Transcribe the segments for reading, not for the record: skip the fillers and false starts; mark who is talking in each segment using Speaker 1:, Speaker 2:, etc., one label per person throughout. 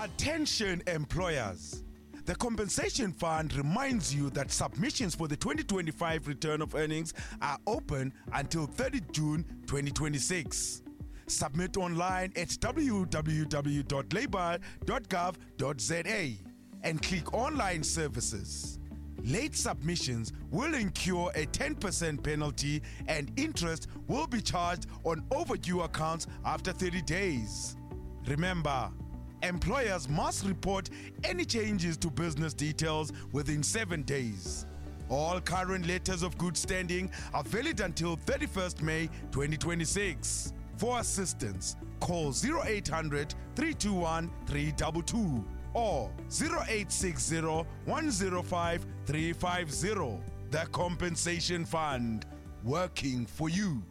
Speaker 1: Attention employers. The Compensation Fund reminds you that submissions for the 2025 return of earnings are open until 30 June 2026. Submit online at www.labour.gov.za and click Online Services. Late submissions will incur a 10% penalty and interest will be charged on overdue accounts after 30 days. Remember, employers must report any changes to business details within 7 days. All current letters of good standing are valid until 31st May 2026. For assistance, call 0800 321 322 or 0860 105 350. The Compensation Fund, working for you.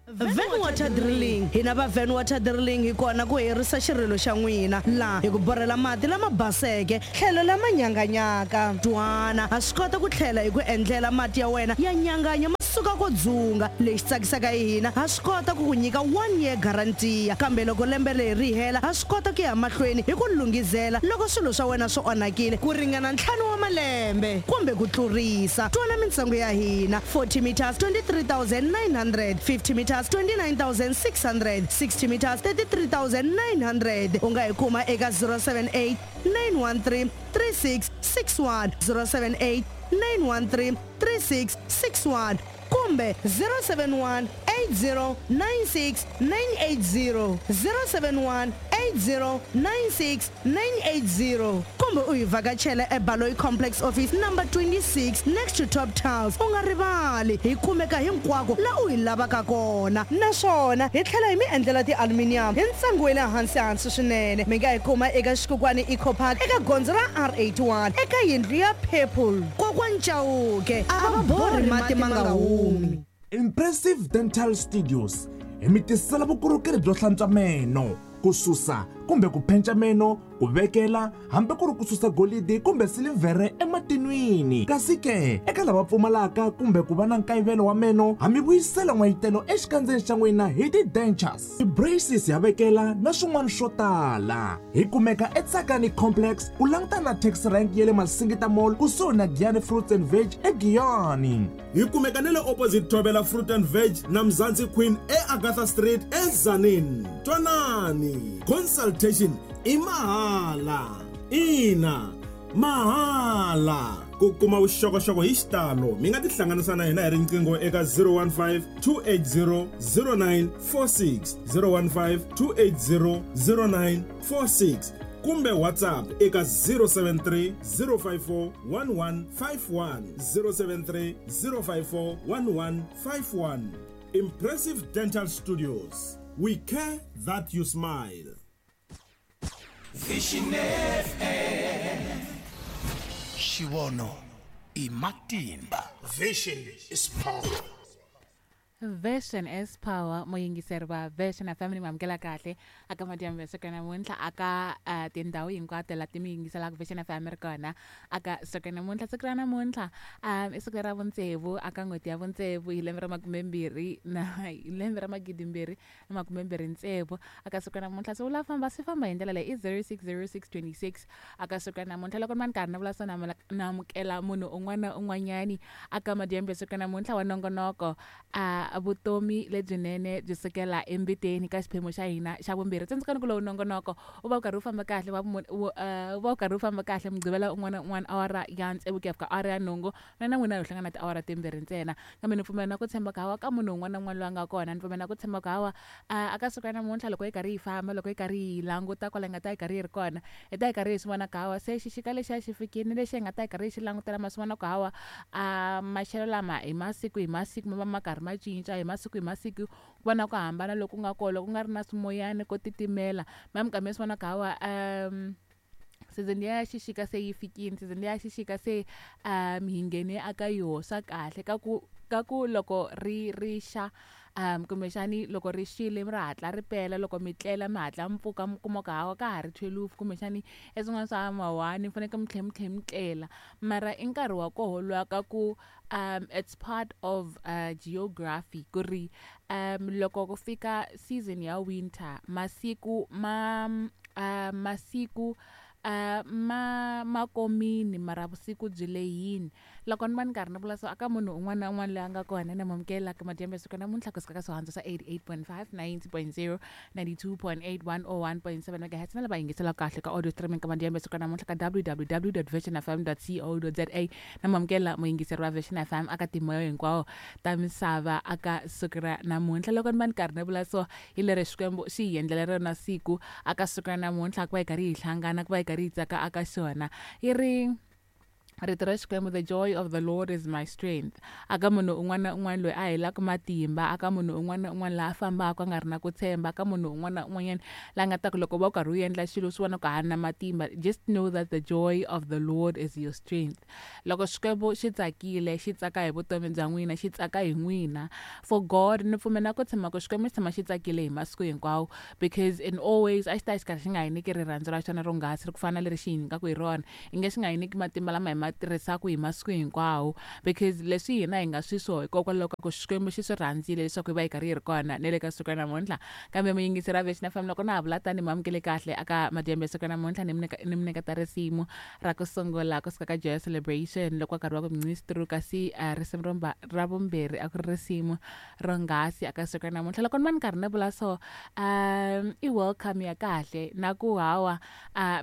Speaker 2: Van Water Drilling. Hina va Van Water Drilling hi kona ku herisa xirilo xa n'wina laha hi ku borhela mati lama baseke tlhelo lama nyanganyaka. Twana, ha swi kota ku tlhela hi ku endlela mati ya wena ya nyanganya ma suka ko dzunga. Lexi tsakisaka hi hina, ha swi kota ku ku nyika one year guarantee, kambe loko lembe leri ri hela ha swi kota ku ya mahlweni hi ku lunghizela loko swilo swa wena swi onhakile ku ringana ntlhanu wa malembe kumbe ku tlurisa. Twana mintsengo ya hina: 40 meters 23,900, 50 meters 29,600, 60 meters 33,900. U nga hi kuma eka 078 913 3661, 078 913 3661 kumbe 071 8096 980, 071 8096 980, kumbe u hi vhakachela eBaloyi Complex, office number 26, next to Top Tiles. U nga rivali, hi kumeka hinkwako la u hi lavaka kona, naswona hi tlhela hi mi endlela ti-aluminium hi ntsengo wa le hansi hansi swinene. Mi nga hi kuma eka Xikukwani Eco Park, eka gondzo ra R81, eka yindlu ya purple. Kokwani Chauke a va borhi mati ma nga humi.
Speaker 3: Impressive Dental Studios hi mi tisela vukorhokeri byo hlantswa meno, ku susa kumbe ku penca meno, ku vekela hambi ku ri ku susa golidi kumbe silivhere ematinwini. Kasi ke eka lava pfumalaka kumbe ku va na nkayivelo wa meno, ha mi vuyisela n'wayitelo exikandzeni xa n'wina hi ti-dentures, ti-braces ya vekela na swin'wana swo tala. Hi kumeka eTsakani Complex, ku langutana na taxi rank ya le Masingita Mall, kusuhi na Giyani Fruits and Veg eGiyani.
Speaker 4: Hi kumeka na le opposite Thobela Fruit and Veg na Mzansi Queen eAgatha Street eTzaneen. Twanani, consultation i mahala, ina mahala. Ku kuma vuxokoxoko hi xitalo, mi nga tihlanganisa na hina hi riqingho eka 015 280 0946, 015 280 0946, kumbe WhatsApp eka 073 054 1151, 073 054 1151. Impressive Dental Studios, we care that you smile.
Speaker 5: Vision FM. Xivono i matimba.
Speaker 6: Vision is power.
Speaker 7: Vision is power. Muyingiseri va Vision FM, ni mamukela kahle aka madyambu ya siku namuntlha aka tindhawu hinkwato la ti mi yingiselaka Vision FM ri kona aka siku namuntlha. Siku ra namuntlha i siku ra vutsevu aka n'hweti ya vutsevu hi lembe ra makumembirhi na hi lembe ra 2026. Aka siku namuntlha se wu la famba swi famba hi ndlela leyi i 060626 aka siku namuntlha. Loko ni va ni karhi ni vula swo, na amukela munhu un'wana na un'wanyani aka madyambu ya siku namuntlha wa nongonoko a vutomi lebyinene byi sukela embiteni ka xiphemu xa hina xa vumbirhi. Tsundzukani ku lowu nongonoko u va u karhi u famba kahle wa u va u karhi u famba kahle Mugqivela un'wana na un'wana, awara ya 6 ku ya fika awara ya 8. Na na n'wina hi hlangana tiawara timbirhi ntsena, kambe ni pfumela na ku tshemba ku hawa ka munhu un'wana na un'wana loyi a nga kona, ni pfumela na ku tshemba ku hawa aka siku ra namuntlha, loko hi karhi hi famba, loko hi karhi hi languta kwala hi nga ta hi karhi hi ri kona, hi ta hi karhi hi swi vona ku hawa se xixika lexiya xi fikile lexi hi nga ta hi karhi hi xi langutela. Ma swi vona ku hawa a maxelo lama hi masiku hi masiku ma va ma karhi ma cinca, hi masiku hi masiku ku va na ku hambana loku nga kona. Loko ku nga ri na swimoyani, ko titimela, ma mi swi vona ku hawa season ya xixika se yi fikile, season ya xixika se hi nghene aka yoho. Swa kahle ka ku loko ri ri xa, kumbexani loko ri xile ri hatla ri pela, loko mi tlela mi hatla mi pfuka, mi kuma ku hawa ka ha ri 12, kumbexani e swin'wana swa ma-1, mi fanekele mi tlhela mi tlhela mi tlela. Mara i nkarhi wa koho luwa ka ku it's part of geography ku ri loko ku fika season ya winter, masiku ma masiku ma komini mara vusiku byi lehini. Loko ni va ni karhi ni vula so aka munhu un'wana na un'wana loyi a nga kona na mamukela ka madyambu ya siku namuntlha kusuka ka swihandzo swa 88.5, 90.0, 92.8, 101.7 megahertz na lava yingiselaka kahle ka audio streaming ka madyambu ya siku namuntlha ka www.visionfm.co.za. Na mamukela muyingiseri wa Vision FM aka timoyo hinkwawo ta misava aka siku ra namuntlha. Loko ni va ni karhi ni vula so hi leri Xikwembu xi hi endlela rona siku aka siku ra namuntlha, ku va hi karhi hi hlangana, ku va hi karhi hi tsaka aka xona. Yi ri rito ra Xikwembu, the joy of the Lord is my strength. Aka munhu un'wana na un'wana loyi a helaka matimba, aka munhu un'wana na un'wana laha a fambaka a nga ri na ku tshemba, aka munhu un'wana na un'wanyana la nga ta ku loko va u karhi u endla xilo swi vona ku ha na matimba, just know that the joy of the Lord is your strength. Loko Xikwembu xi tsakile, xi tsaka hi vutomi bya n'wina, xi tsaka hi n'wina. For God, ni pfumela ku tshama ku Xikwembu xi tshama xi tsakile hi masiku hinkwawo, because in always a xi ta xi karhi xi nga hi nyiki rirhandzu ra xona ronghasi ri ku fana na leri xi hi nyikaka hi rona, i nge xi nga hi nyiki matimba lama hi ma tirhisaka hi masiku hinkwawo, because leswi hina hi nga swiswo hikokwalaho ka ku Xikwembu xi swi rhandzile leswaku hi va hi karhi hi ri kona ne le ka siku ra namuntlha. Kambe muyingiseri wa Vision FM, loko na ha vula tani mamukele kahle aka madyambu ya siku ra namuntlha, ni mi nyiketa risimu ra ku sungula kusuka ka Joy Celebration loko karhi wa ku mnistru, kasi risimu ra vumbirhi a ku ri risimu ronghasi aka siku ra namuntlha. Loko ni va ni karhi ni vula so i welcome ya kahle na ku hawa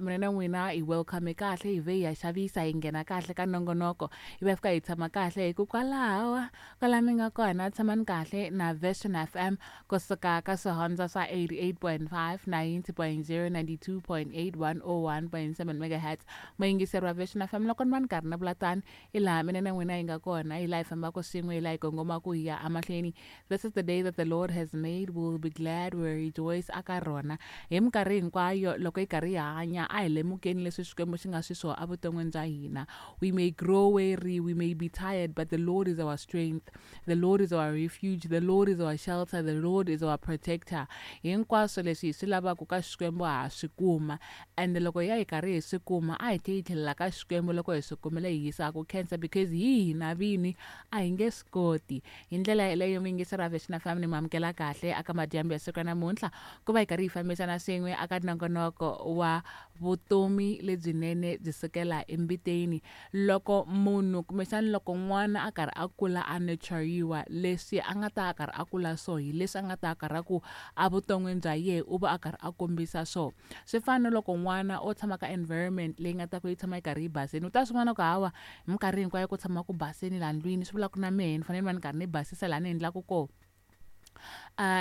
Speaker 7: mina na n'wina i welcome kahle, hi ve hi ya xavisa hi nghena kahle ka nongonoko, hi va fika hi tshama kahle hi ku kwalawa kwala mi nga kona tshamani kahle na Vision FM kusuka ka swihondzo swa 88.5, 90.0, 92.8, 101.7 megahertz. Muyingiseri wa Vision FM, loko ni va ni karhi ni vula tani hi laha mina na n'wina hi nga kona, hi laha hi fambaka swin'we, hi laha hi kongomaka hi ya emahlweni. This is the day that the Lord has made, we will be glad, we will rejoice aka rona hi minkarhi hinkwayo. Loko hi karhi hi hanya a hi lemukeni leswi Xikwembu xi nga swiswo evuton'wini bya hina. We may grow weary, we may be tired, but the Lord is our strength, the Lord is our refuge, the Lord is our shelter, the Lord is our protector. Hinkwaswo leswi hi swi lavaka ka Xikwembu ha swi kuma, and loko ya hi karhi hi swi kuma a hi tlhe hi tlhelela ka Xikwembu loko hi swi kumile hi yisa ku khensa, because hi hina vini a hi nge swi koti. Hi ndlela yeleyo muyingiseri wa Vision FM ni mamukela kahle aka madyambu ya siku ra namuntlha ku va hi karhi hi fambisana swin'we aka nongonoko wa vutomi lebyinene byi sukela embiteni. Loko munhu kumbexana loko n'wana a karhi a kula a nurturiwa, leswi a nga ta a karhi a kula so hi leswi a nga ta a karhi a ku evuton'wini bya yehe u va a karhi a kombisa so. Swi fana na loko n'wana o tshama ka environment leyi nga ta ku yi tshama yi karhi yi basini, u ta swi vona ku hawa hi minkarhi hinkwayo ku tshama ku basini laha ndlwini, swi vula ku na mehe ni fanele ni va ni karhi ni basisa laha ni endlaka kona.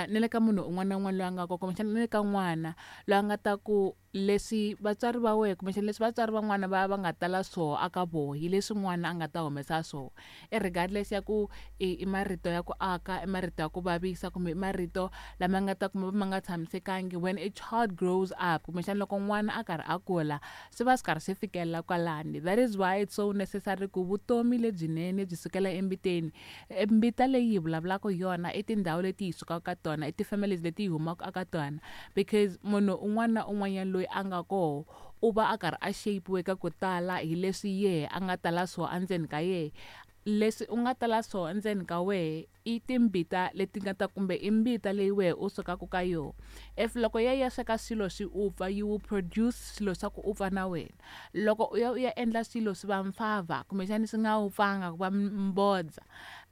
Speaker 7: Ni le ka munhu un'wana na un'wana loyi a nga kona, kumbexana ni le ka n'wana loyi a nga ta ku leswi vatswari va wehe kumbexana leswi vatswari van'wana va va nga tala swoho aka voho hi leswi n'wana a nga ta humesa swoho, regardless ya ku i marito ya ku aka, i marito ya ku vavisa, kumbe i marito lama nga ta kuma ma nga tshamisekangi. When a child grows up, kumbexana loko n'wana a karhi a kula, swi va swi karhi swi fikelela kwalani. That is why it's so necessary ku vutomi lebyinene byi sukela embiteni. Mbita leyi hi vulavulaka hi yona i tindhawu leti hi sukaka ka tona, i ti-families leti hi humaka aka tona, because munhu un'wana na un'wanyana loyi a nga koho u va a karhi a shape-iwe ka ku tala hi leswi yehe a nga tala swoho endzeni ka yehe. Leswi u nga tala swoho endzeni ka wehe i timbita leti nga ta kumbe i mbita leyi wehe u sukaka ka yona. If loko ya ya sweka swilo swi upfa, you will produce swilo swa ku upfa na wena. Loko u ya u ya endla swilo swi va mfava kumbexana swi nga upfanga ku va mbodza,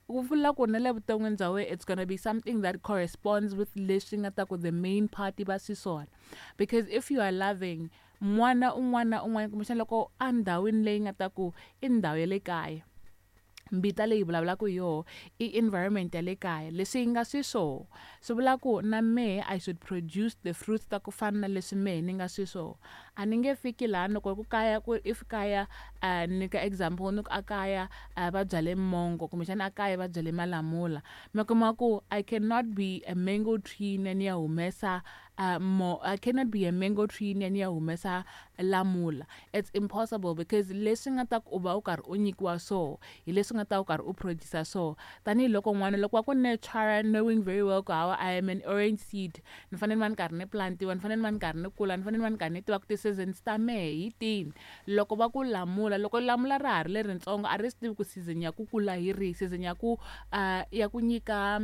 Speaker 7: ku vula ku na le vuton'wini bya wena it's gonna be something that corresponds with leswi nga ta ku the main part va swiswona. Because if you are loving n'wana un'wana na un'wana, kumbexana loko endhawini leyi nga ta ku i ndhawu ya le kaya, mbita leyi vulavulaka hi yoho i environment ya le kaya, leswi yi nga swiswoho swi vula ku na mehe I should produce the fruits ta ku fana na leswi mehe ni nga swiswoho. A ni nge fiki laha loko ku kaya ku if kaya ni ka example ni ku a kaya va byale mongo kumbexana a kaya va byale malamula, mi kuma ku I cannot be a mango tree ni ya humesa I cannot be a mango tree ni ya humesa lamula. It's impossible, because leswi nga ta ku u va u karhi u nyikiwa so hi leswi nga ta u karhi u produce so. Tanihiloko n'wana loko wa ku nurture, knowing very well ku hawa I am an orange seed, ni fanele ni va ni karhi ni plantiwa, ni fanele ni va ni karhi ni kula, ni fanele ni va ni karhi ni tiva ku ti-seasons ta mehe hi tini. Loko va ku lamula, loko lamula ra ha ri leritsongo a ri swi tivi ku season ya ku kula hi rihi, season ya ku ya ku nyika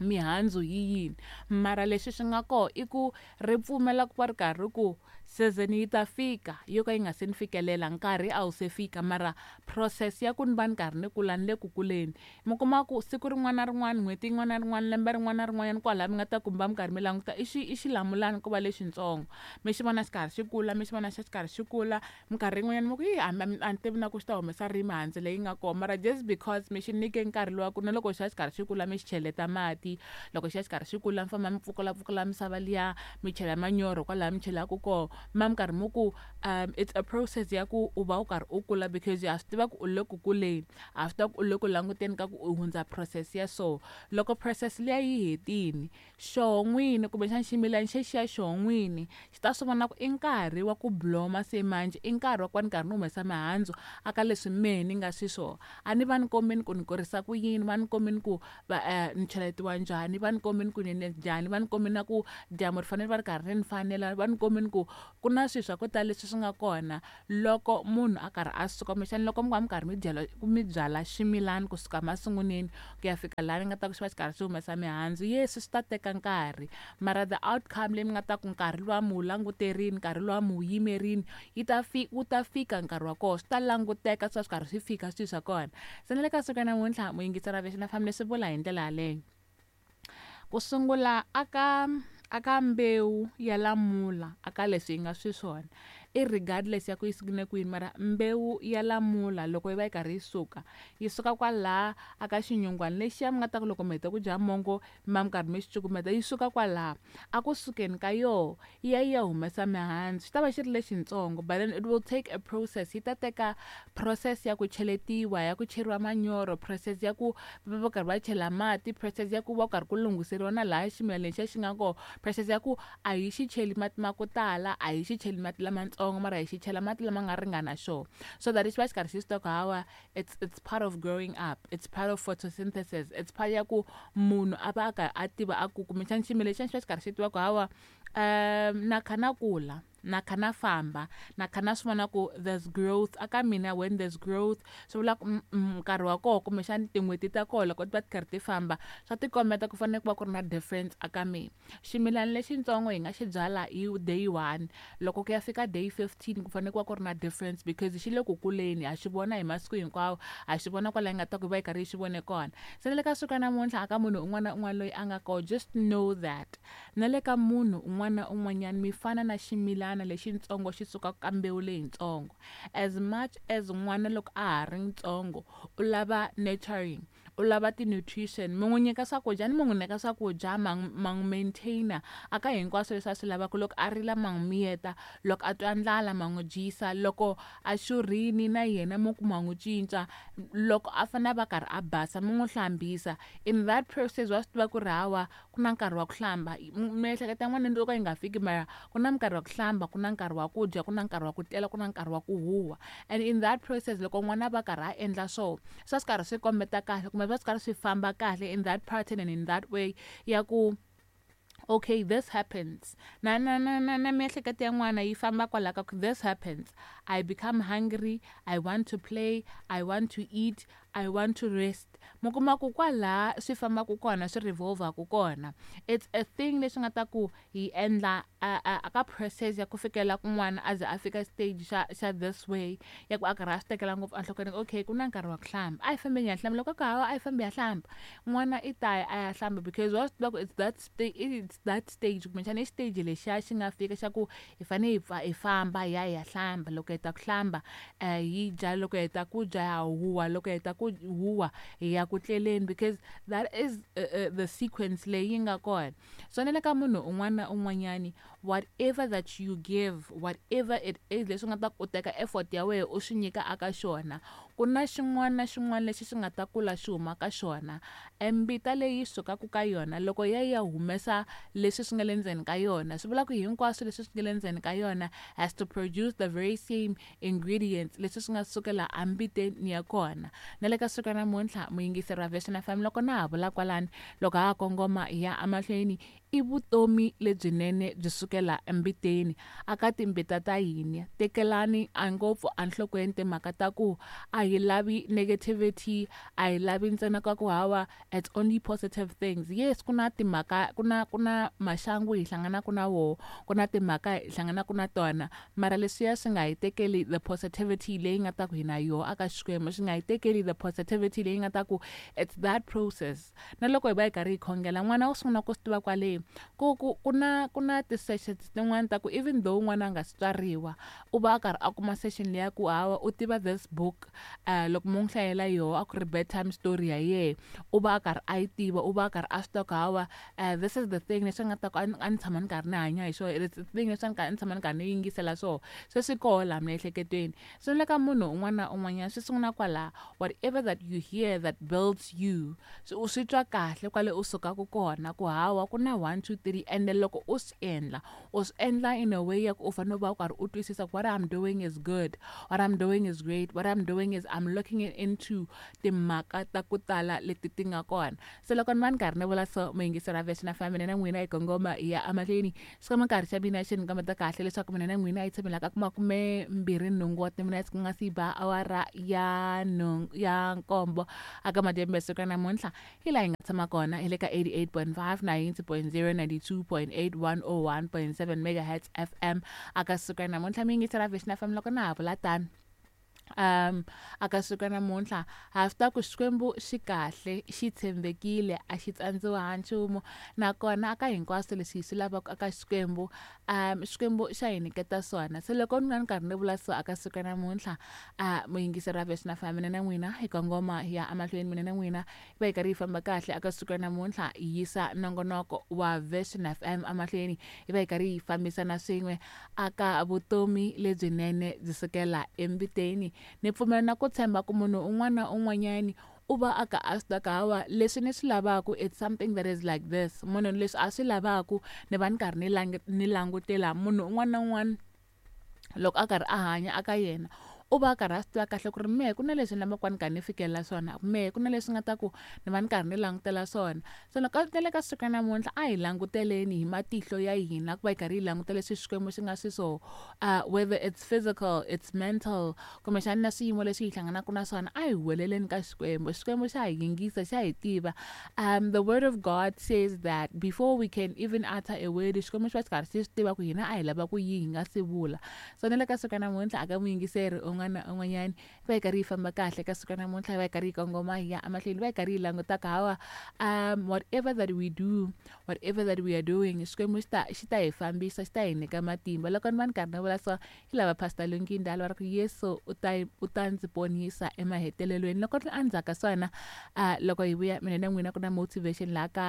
Speaker 7: Mihandzu yi yini, mara leswi swi nga koho i ku ri pfumela ku va ri karhi ku season yi ta fika yo ka yi nga se ni fikelela, nkarhi a wu se fika, mara process ya ku ni va ni karhi ni kula, ni le ku kuleni. Mi kuma ku siku rin'wana na rin'wana, n'hweti yin'wana na rin'wana, lembe rin'wana na rin'wanyana, kwalaya mi nga ta kumba mi karhi mi languta i xi i xilamulani ko va lexitsongo, mi xi vona xi karhi xi kula, mi xi vona xi karhi xi kula. Minkarhi yin'wanyana mi ku yi, a ni tivi na ku xi ta humesa rini mihandzu leyi nga kona, mara just because mi xi nyike nkarhi luwa ku na loko xi ya xi karhi xi kula, mi xi cheleta mati, loko xi ya xi karhi xi kula, mi famba mi pfukulapfukula misava liya, mi chela manyoro kwalaya mi chelaka koho, ma mi karhi mi ku it's a process ya ku u va u karhi u kula, because ha swi tiva ku u le ku kuleni, ha swi tiva ku u le ku languteni ka ku u hundza process ya so. Loko process liya yi hetini, xoho n'wini kumbexana ximilana xexiya xoho n'wini xi ta swi vona ku i nkarhi wa ku bloma se manjhe, i nkarhi wa ku va ni karhi ni humesa mihandzu aka leswi mehe ni nga xiswona. A ni va ni kombeni ku ni kurisa ku yini, va ni kombeni ku va ni cheletiwa njhani, va ni kombeni ku ni njhani, va ni kombeni na ku dyambu ri fanele va ri karhi ri ni fanela, va ni kombeni ku ku na swilo swa ku tala leswi swi nga kona loko munhu a karhi a suka, kumbexana loko mi va mi karhi mi byala, mi byala ximilani kusuka masunguleni ku ya fika laha ni nga ta ku xi va xi karhi xi humesa mihandzu. Yes, swi ta teka nkarhi, mara the outcome leyi mi nga ta ku nkarhi luwa mi wu languterini, nkarhi luwa mi wu yimerini, yi ta fi wu ta fika nkarhi wa kona, swi ta languteka swi va swi karhi swi fika swilo swa kona. Se na le ka siku ra namuntlha, muyingiseri wa Vision FM, leswi vula hi ndlela yaleyo. Ku sungula aka aka mbewu ya lamula, aka leswi yi nga swiswona, i regardless ya ku yi sungule kwini, mara mbewu ya lamula loko yi va yi karhi yi suka, yi suka kwalaha aka xinyungwana lexiya mi nga ta ku loko mi heta ku dya mongo mi va mi karhi mi xi cukumeta, yi suka kwalaha. A ku sukeni ka yoho yi ya yi ya humesa mihandzu, xi ta va xi ri lexitsongo, but then it will take a process, yi ta teka process ya ku cheletiwa, ya ku cheriwa manyoro, process ya ku va va karhi va chela mati, process ya ku va karhi ku lunghiseriwa na laha ximilana lexiya xi nga kona, process ya ku a hi xi cheli mati ma ku tala, a hi xi cheli mati lamatsongo, mara hi xi chela mati lama nga ringana xona, so that xi va xi karhi xi swi tiva ku hawa it's part of growing up, it's part of photosynthesis, it's part ya ku munhu a va a karhi a tiva a ku kumbexana ximilana lexiya xi va xi karhi xi tiva ku hawa na kha na kula, na kha na famba, na kha na swi vona ku there's growth aka mina. When there's growth, swi vula ku nkarhi wa koho kumbexana tin'hweti ta koho loko ti va ti karhi ti famba, swa tikombeta ku fanele ku va ku ri na difference aka mina. Ximilana lexitsongo hi nga xi byala hi day 1, loko ku ya fika day 15 ku fanele ku va ku ri na difference, because xi le ku kuleni, ha xi vona hi masiku hinkwawo, ha xi vona kwala hi nga ta ku va yi karhi yi xi vone kona. Se na le ka siku ra namuntlha, aka munhu un'wana na un'wana loyi a nga koho, just know that na le ka munhu un'wana na un'wanyana mi fana na ximilana lexitsongo xi sukaka ka mbewu leyitsongo. As much as n'wana loko a ha ri ntsongo u lava nurturing, u lava ti-nutrition, mi n'wi nyika swakudya ni mi n'wi nyika swakudya, ma n'wi maintainer aka hinkwaswo leswi a swi lavaka, loko a rila ma n'wi miyeta, loko a twa ndlala ma n'wi dyisa, loko a xurhini na yena mi ku ma n'wi cinca, loko a fanele a va karhi a basa mi n'wi hlambisa. In that process wa swi tiva ku ri hawa ku na nkarhi wa ku hlamba, miehleketo ya n'wana loko yi nga fiki, mara ku na nkarhi wa ku hlamba, ku na nkarhi wa ku dya, ku na nkarhi wa ku tlela, ku na nkarhi wa ku huwa. And in that process loko n'wana va karhi a endla swo, swi va swi karhi swi kombeta kahle, kumbe swi va swi karhi swi famba kahle in that pattern and in that way ya ku okay, this happens. Na na na na na miehleketo ya n'wana yi famba kwala ka ku this happens, I become hungry, I want to play, I want to eat, I want to rest. Mi kuma ku kwala swi fambaka kona, swi revolve-aku kona, it's a thing leswi nga ta ku hi endla a ka process ya ku fikela kun'wana a ze a fika stage xa xa this way ya ku a karhi a swi tekela ngopfu enhlokweni. Okay, ku na nkarhi wa ku hlamba, a hi fambeni hi ya hlamba. Loko ku hawa a hi fambi ya hlamba, n'wana i ta ya a ya hlamba, because wa swi tiva ku it's that stage, kumbexana i stage lexiya xi nga fika xa ku hi fanele hi pfa hi famba hi ya hi ya hlamba. Loko hi heta ku hlamba hi dya, loko hi heta ku dya ya huwa, loko hi heta ku huwa hi ya ku tleleni, because that is the sequence leyi yi nga kona. So na le ka munhu un'wana na un'wanyani, whatever that you give, whatever it is leswi nga ta ku teka effort ya wena u swi nyika aka xona, ku na xin'wana na xin'wana lexi xi nga ta kula xi huma ka xona. Mbita leyi sukaka ka yona loko ya ya humesa leswi swi nga le ndzeni ka yona, swi vula ku hinkwaswo leswi swi nga le ndzeni ka yona has to produce the very same ingredients leswi swi nga sukela ambiteni ya kona. Na le ka siku ra namuntlha, muyingiseri wa Vision FM, loko na ha vula kwalani, loko ha ha kongoma hi ya emahlweni, I vutomi lebyinene byi sukela embiteni aka timbita ta hina. Tekelani a ngopfu enhlokweni timhaka ta ku a hi lavi negativity, a hi lavi ntsena ka ku hawa it's only positive things. Yes, ku na timhaka, ku na maxangu hi hlanganaka na woho, ku na timhaka hi hlanganaka na tona, mara leswiya swi nga hi tekeli the positivity leyi nga ta ku hi na yoho aka Xikwembu, swi nga hi tekeli the positivity leyi nga ta ku it's that process. Na loko hi va hi karhi hi khongela, n'wana wo sungula ku swi tiva kwale ku na ti-sessions tin'wani ta ku even though n'wana a nga si tswariwa, u va a karhi a kuma session leya ku hawa u tiva this book. Loko mo n'wi hlayela yoho a ku ri bedtime story ya yehe, u va a karhi a yi tiva, u va a karhi a swi tiva ku hawa this is the thing leswi nga ta ku a ni tshama ni karhi ni hanya hi swona, it's the thing leswi a ni tshama ni karhi ni yingisela swoho, se swi koho laha miehleketweni. So ni le ka munhu un'wana na un'wanyana swi sungula kwalaha. Whatever that you hear that builds you, so u swi twa kahle kwale u sukaka kona ku hawa ku na 1 2 3, and then loko u swi endla, u swi endla in a way ya ku u fanele u va u karhi u twisisa ku what I'm doing is good, what I'm doing is great, what I'm doing is I'm looking into timhaka ta ku tala leti ti nga kona. Se loko ni va ni karhi ni vula so, muyingiseri wa Vision FM, mina na n'wina hi kongoma hi ya emahlweni. Swi nkarhi xa mina xi ni kombeta kahle leswaku mina na n'wina hi tshamela ka 28 wa timinetse ku nga si ba awara ya nhungu ya nkombo aka madyambu ya siku ra namuntlha. Hi laha hi nga tshama kona hi le ka 88.5, 90.0, 92.8, 101.7 megahertz FM aka siku ra namuntlha. Mi yingisela Vision FM. Loko na ha vula tano, aka siku ra namuntlha ha swi tiva ku Xikwembu xi kahle, xi tshembekile, a xi tsandziwa ha nchumu, nakona aka hinkwaswo leswi hi swi lavaka aka Xikwembu, Xikwembu xa hi nyiketa swona. Se loko ni nga ni karhi ni vula so aka siku ra namuntlha, muyingiseri wa Vision FM, mina na n'wina hi kongoma hi ya emahlweni. Mina na n'wina hi va hi karhi hi famba kahle aka siku ra namuntlha, hi yisa nongonoko wa Vision FM emahlweni, hi va hi karhi hi fambisana swin'we aka vutomi lebyinene byi sukela embiteni. Ni pfumela na ku tshemba ku munhu un'wana na un'wanyani u va a ka a swi tiva hawa leswi ni swi lavaku, it's something that is like this. Munhu leswi a swi lavaku, ni va ni karhi ni langutela munhu un'wana na un'wana loko a karhi a hanya aka yena, u va a karhi a swi tiva kahle ku ri mehe ku na leswi ni lavaka ni karhi ni fikelela swona, mehe ku na leswi nga ta ku ni va ni karhi ni langutela swona. So loko na le ka siku ra namuntlha, a hi languteleni hi matihlo ya hina ku va hi karhi hi langutela leswi Xikwembu xi nga swiswona, whether it's physical, it's mental, kumbexana na swiyimo leswi hi hlanganaka na swona, a hi huweleleni ka Xikwembu. Xikwembu xa hi yingisa, xa hi tiva. The word of God says that before we can even utter a word, Xikwembu xi va xi karhi xi swi tiva ku hina a hi lava ku yihi hi nga si vula. So na le ka siku ra namuntlha aka muyingiseri un'wana na un'wanyani, hi va hi karhi hi famba kahle ka siku ra namuntlha, hi va hi karhi hi kongoma hi ya emahlweni, hi va hi karhi hi langutaka hawa whatever that we do, whatever that we are doing, Xikwembu xi ta hi fambisa, xi ta hi nyika matimba. Loko ni va ni karhi ni vula so, hi lava Pastor Lungindala va ri ku Yesu u ta ndzi ponisa emahetelelweni. Loko ri endzhaku ka swona, loko hi vuya mina na n'wina, ku na motivation laha ka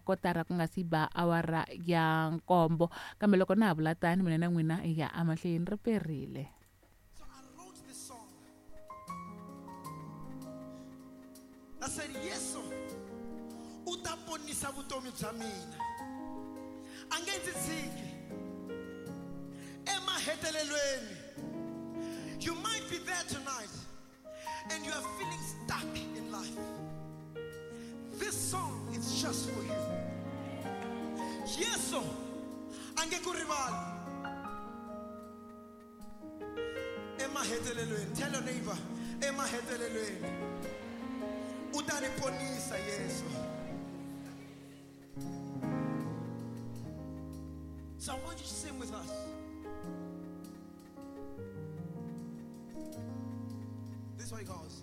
Speaker 7: kotara ku nga si ba awara ya nkombo. Kambe loko na ha vula tani, mina na n'wina hi ya emahlweni, ri perile.
Speaker 6: So I wrote this song. I said, Yesu, u ta ponisa vutomi bya mina. A nge ndzi tshiki. Emahetelelweni. You might be there tonight and you are feeling stuck in life. This song is just for you. Yesu, a nge ku rivali. Emahetelelweni. Tell your neighbor, emahetelelweni. U ta ni ponisa Yesu. So I want you to sing with us. This is how it goes.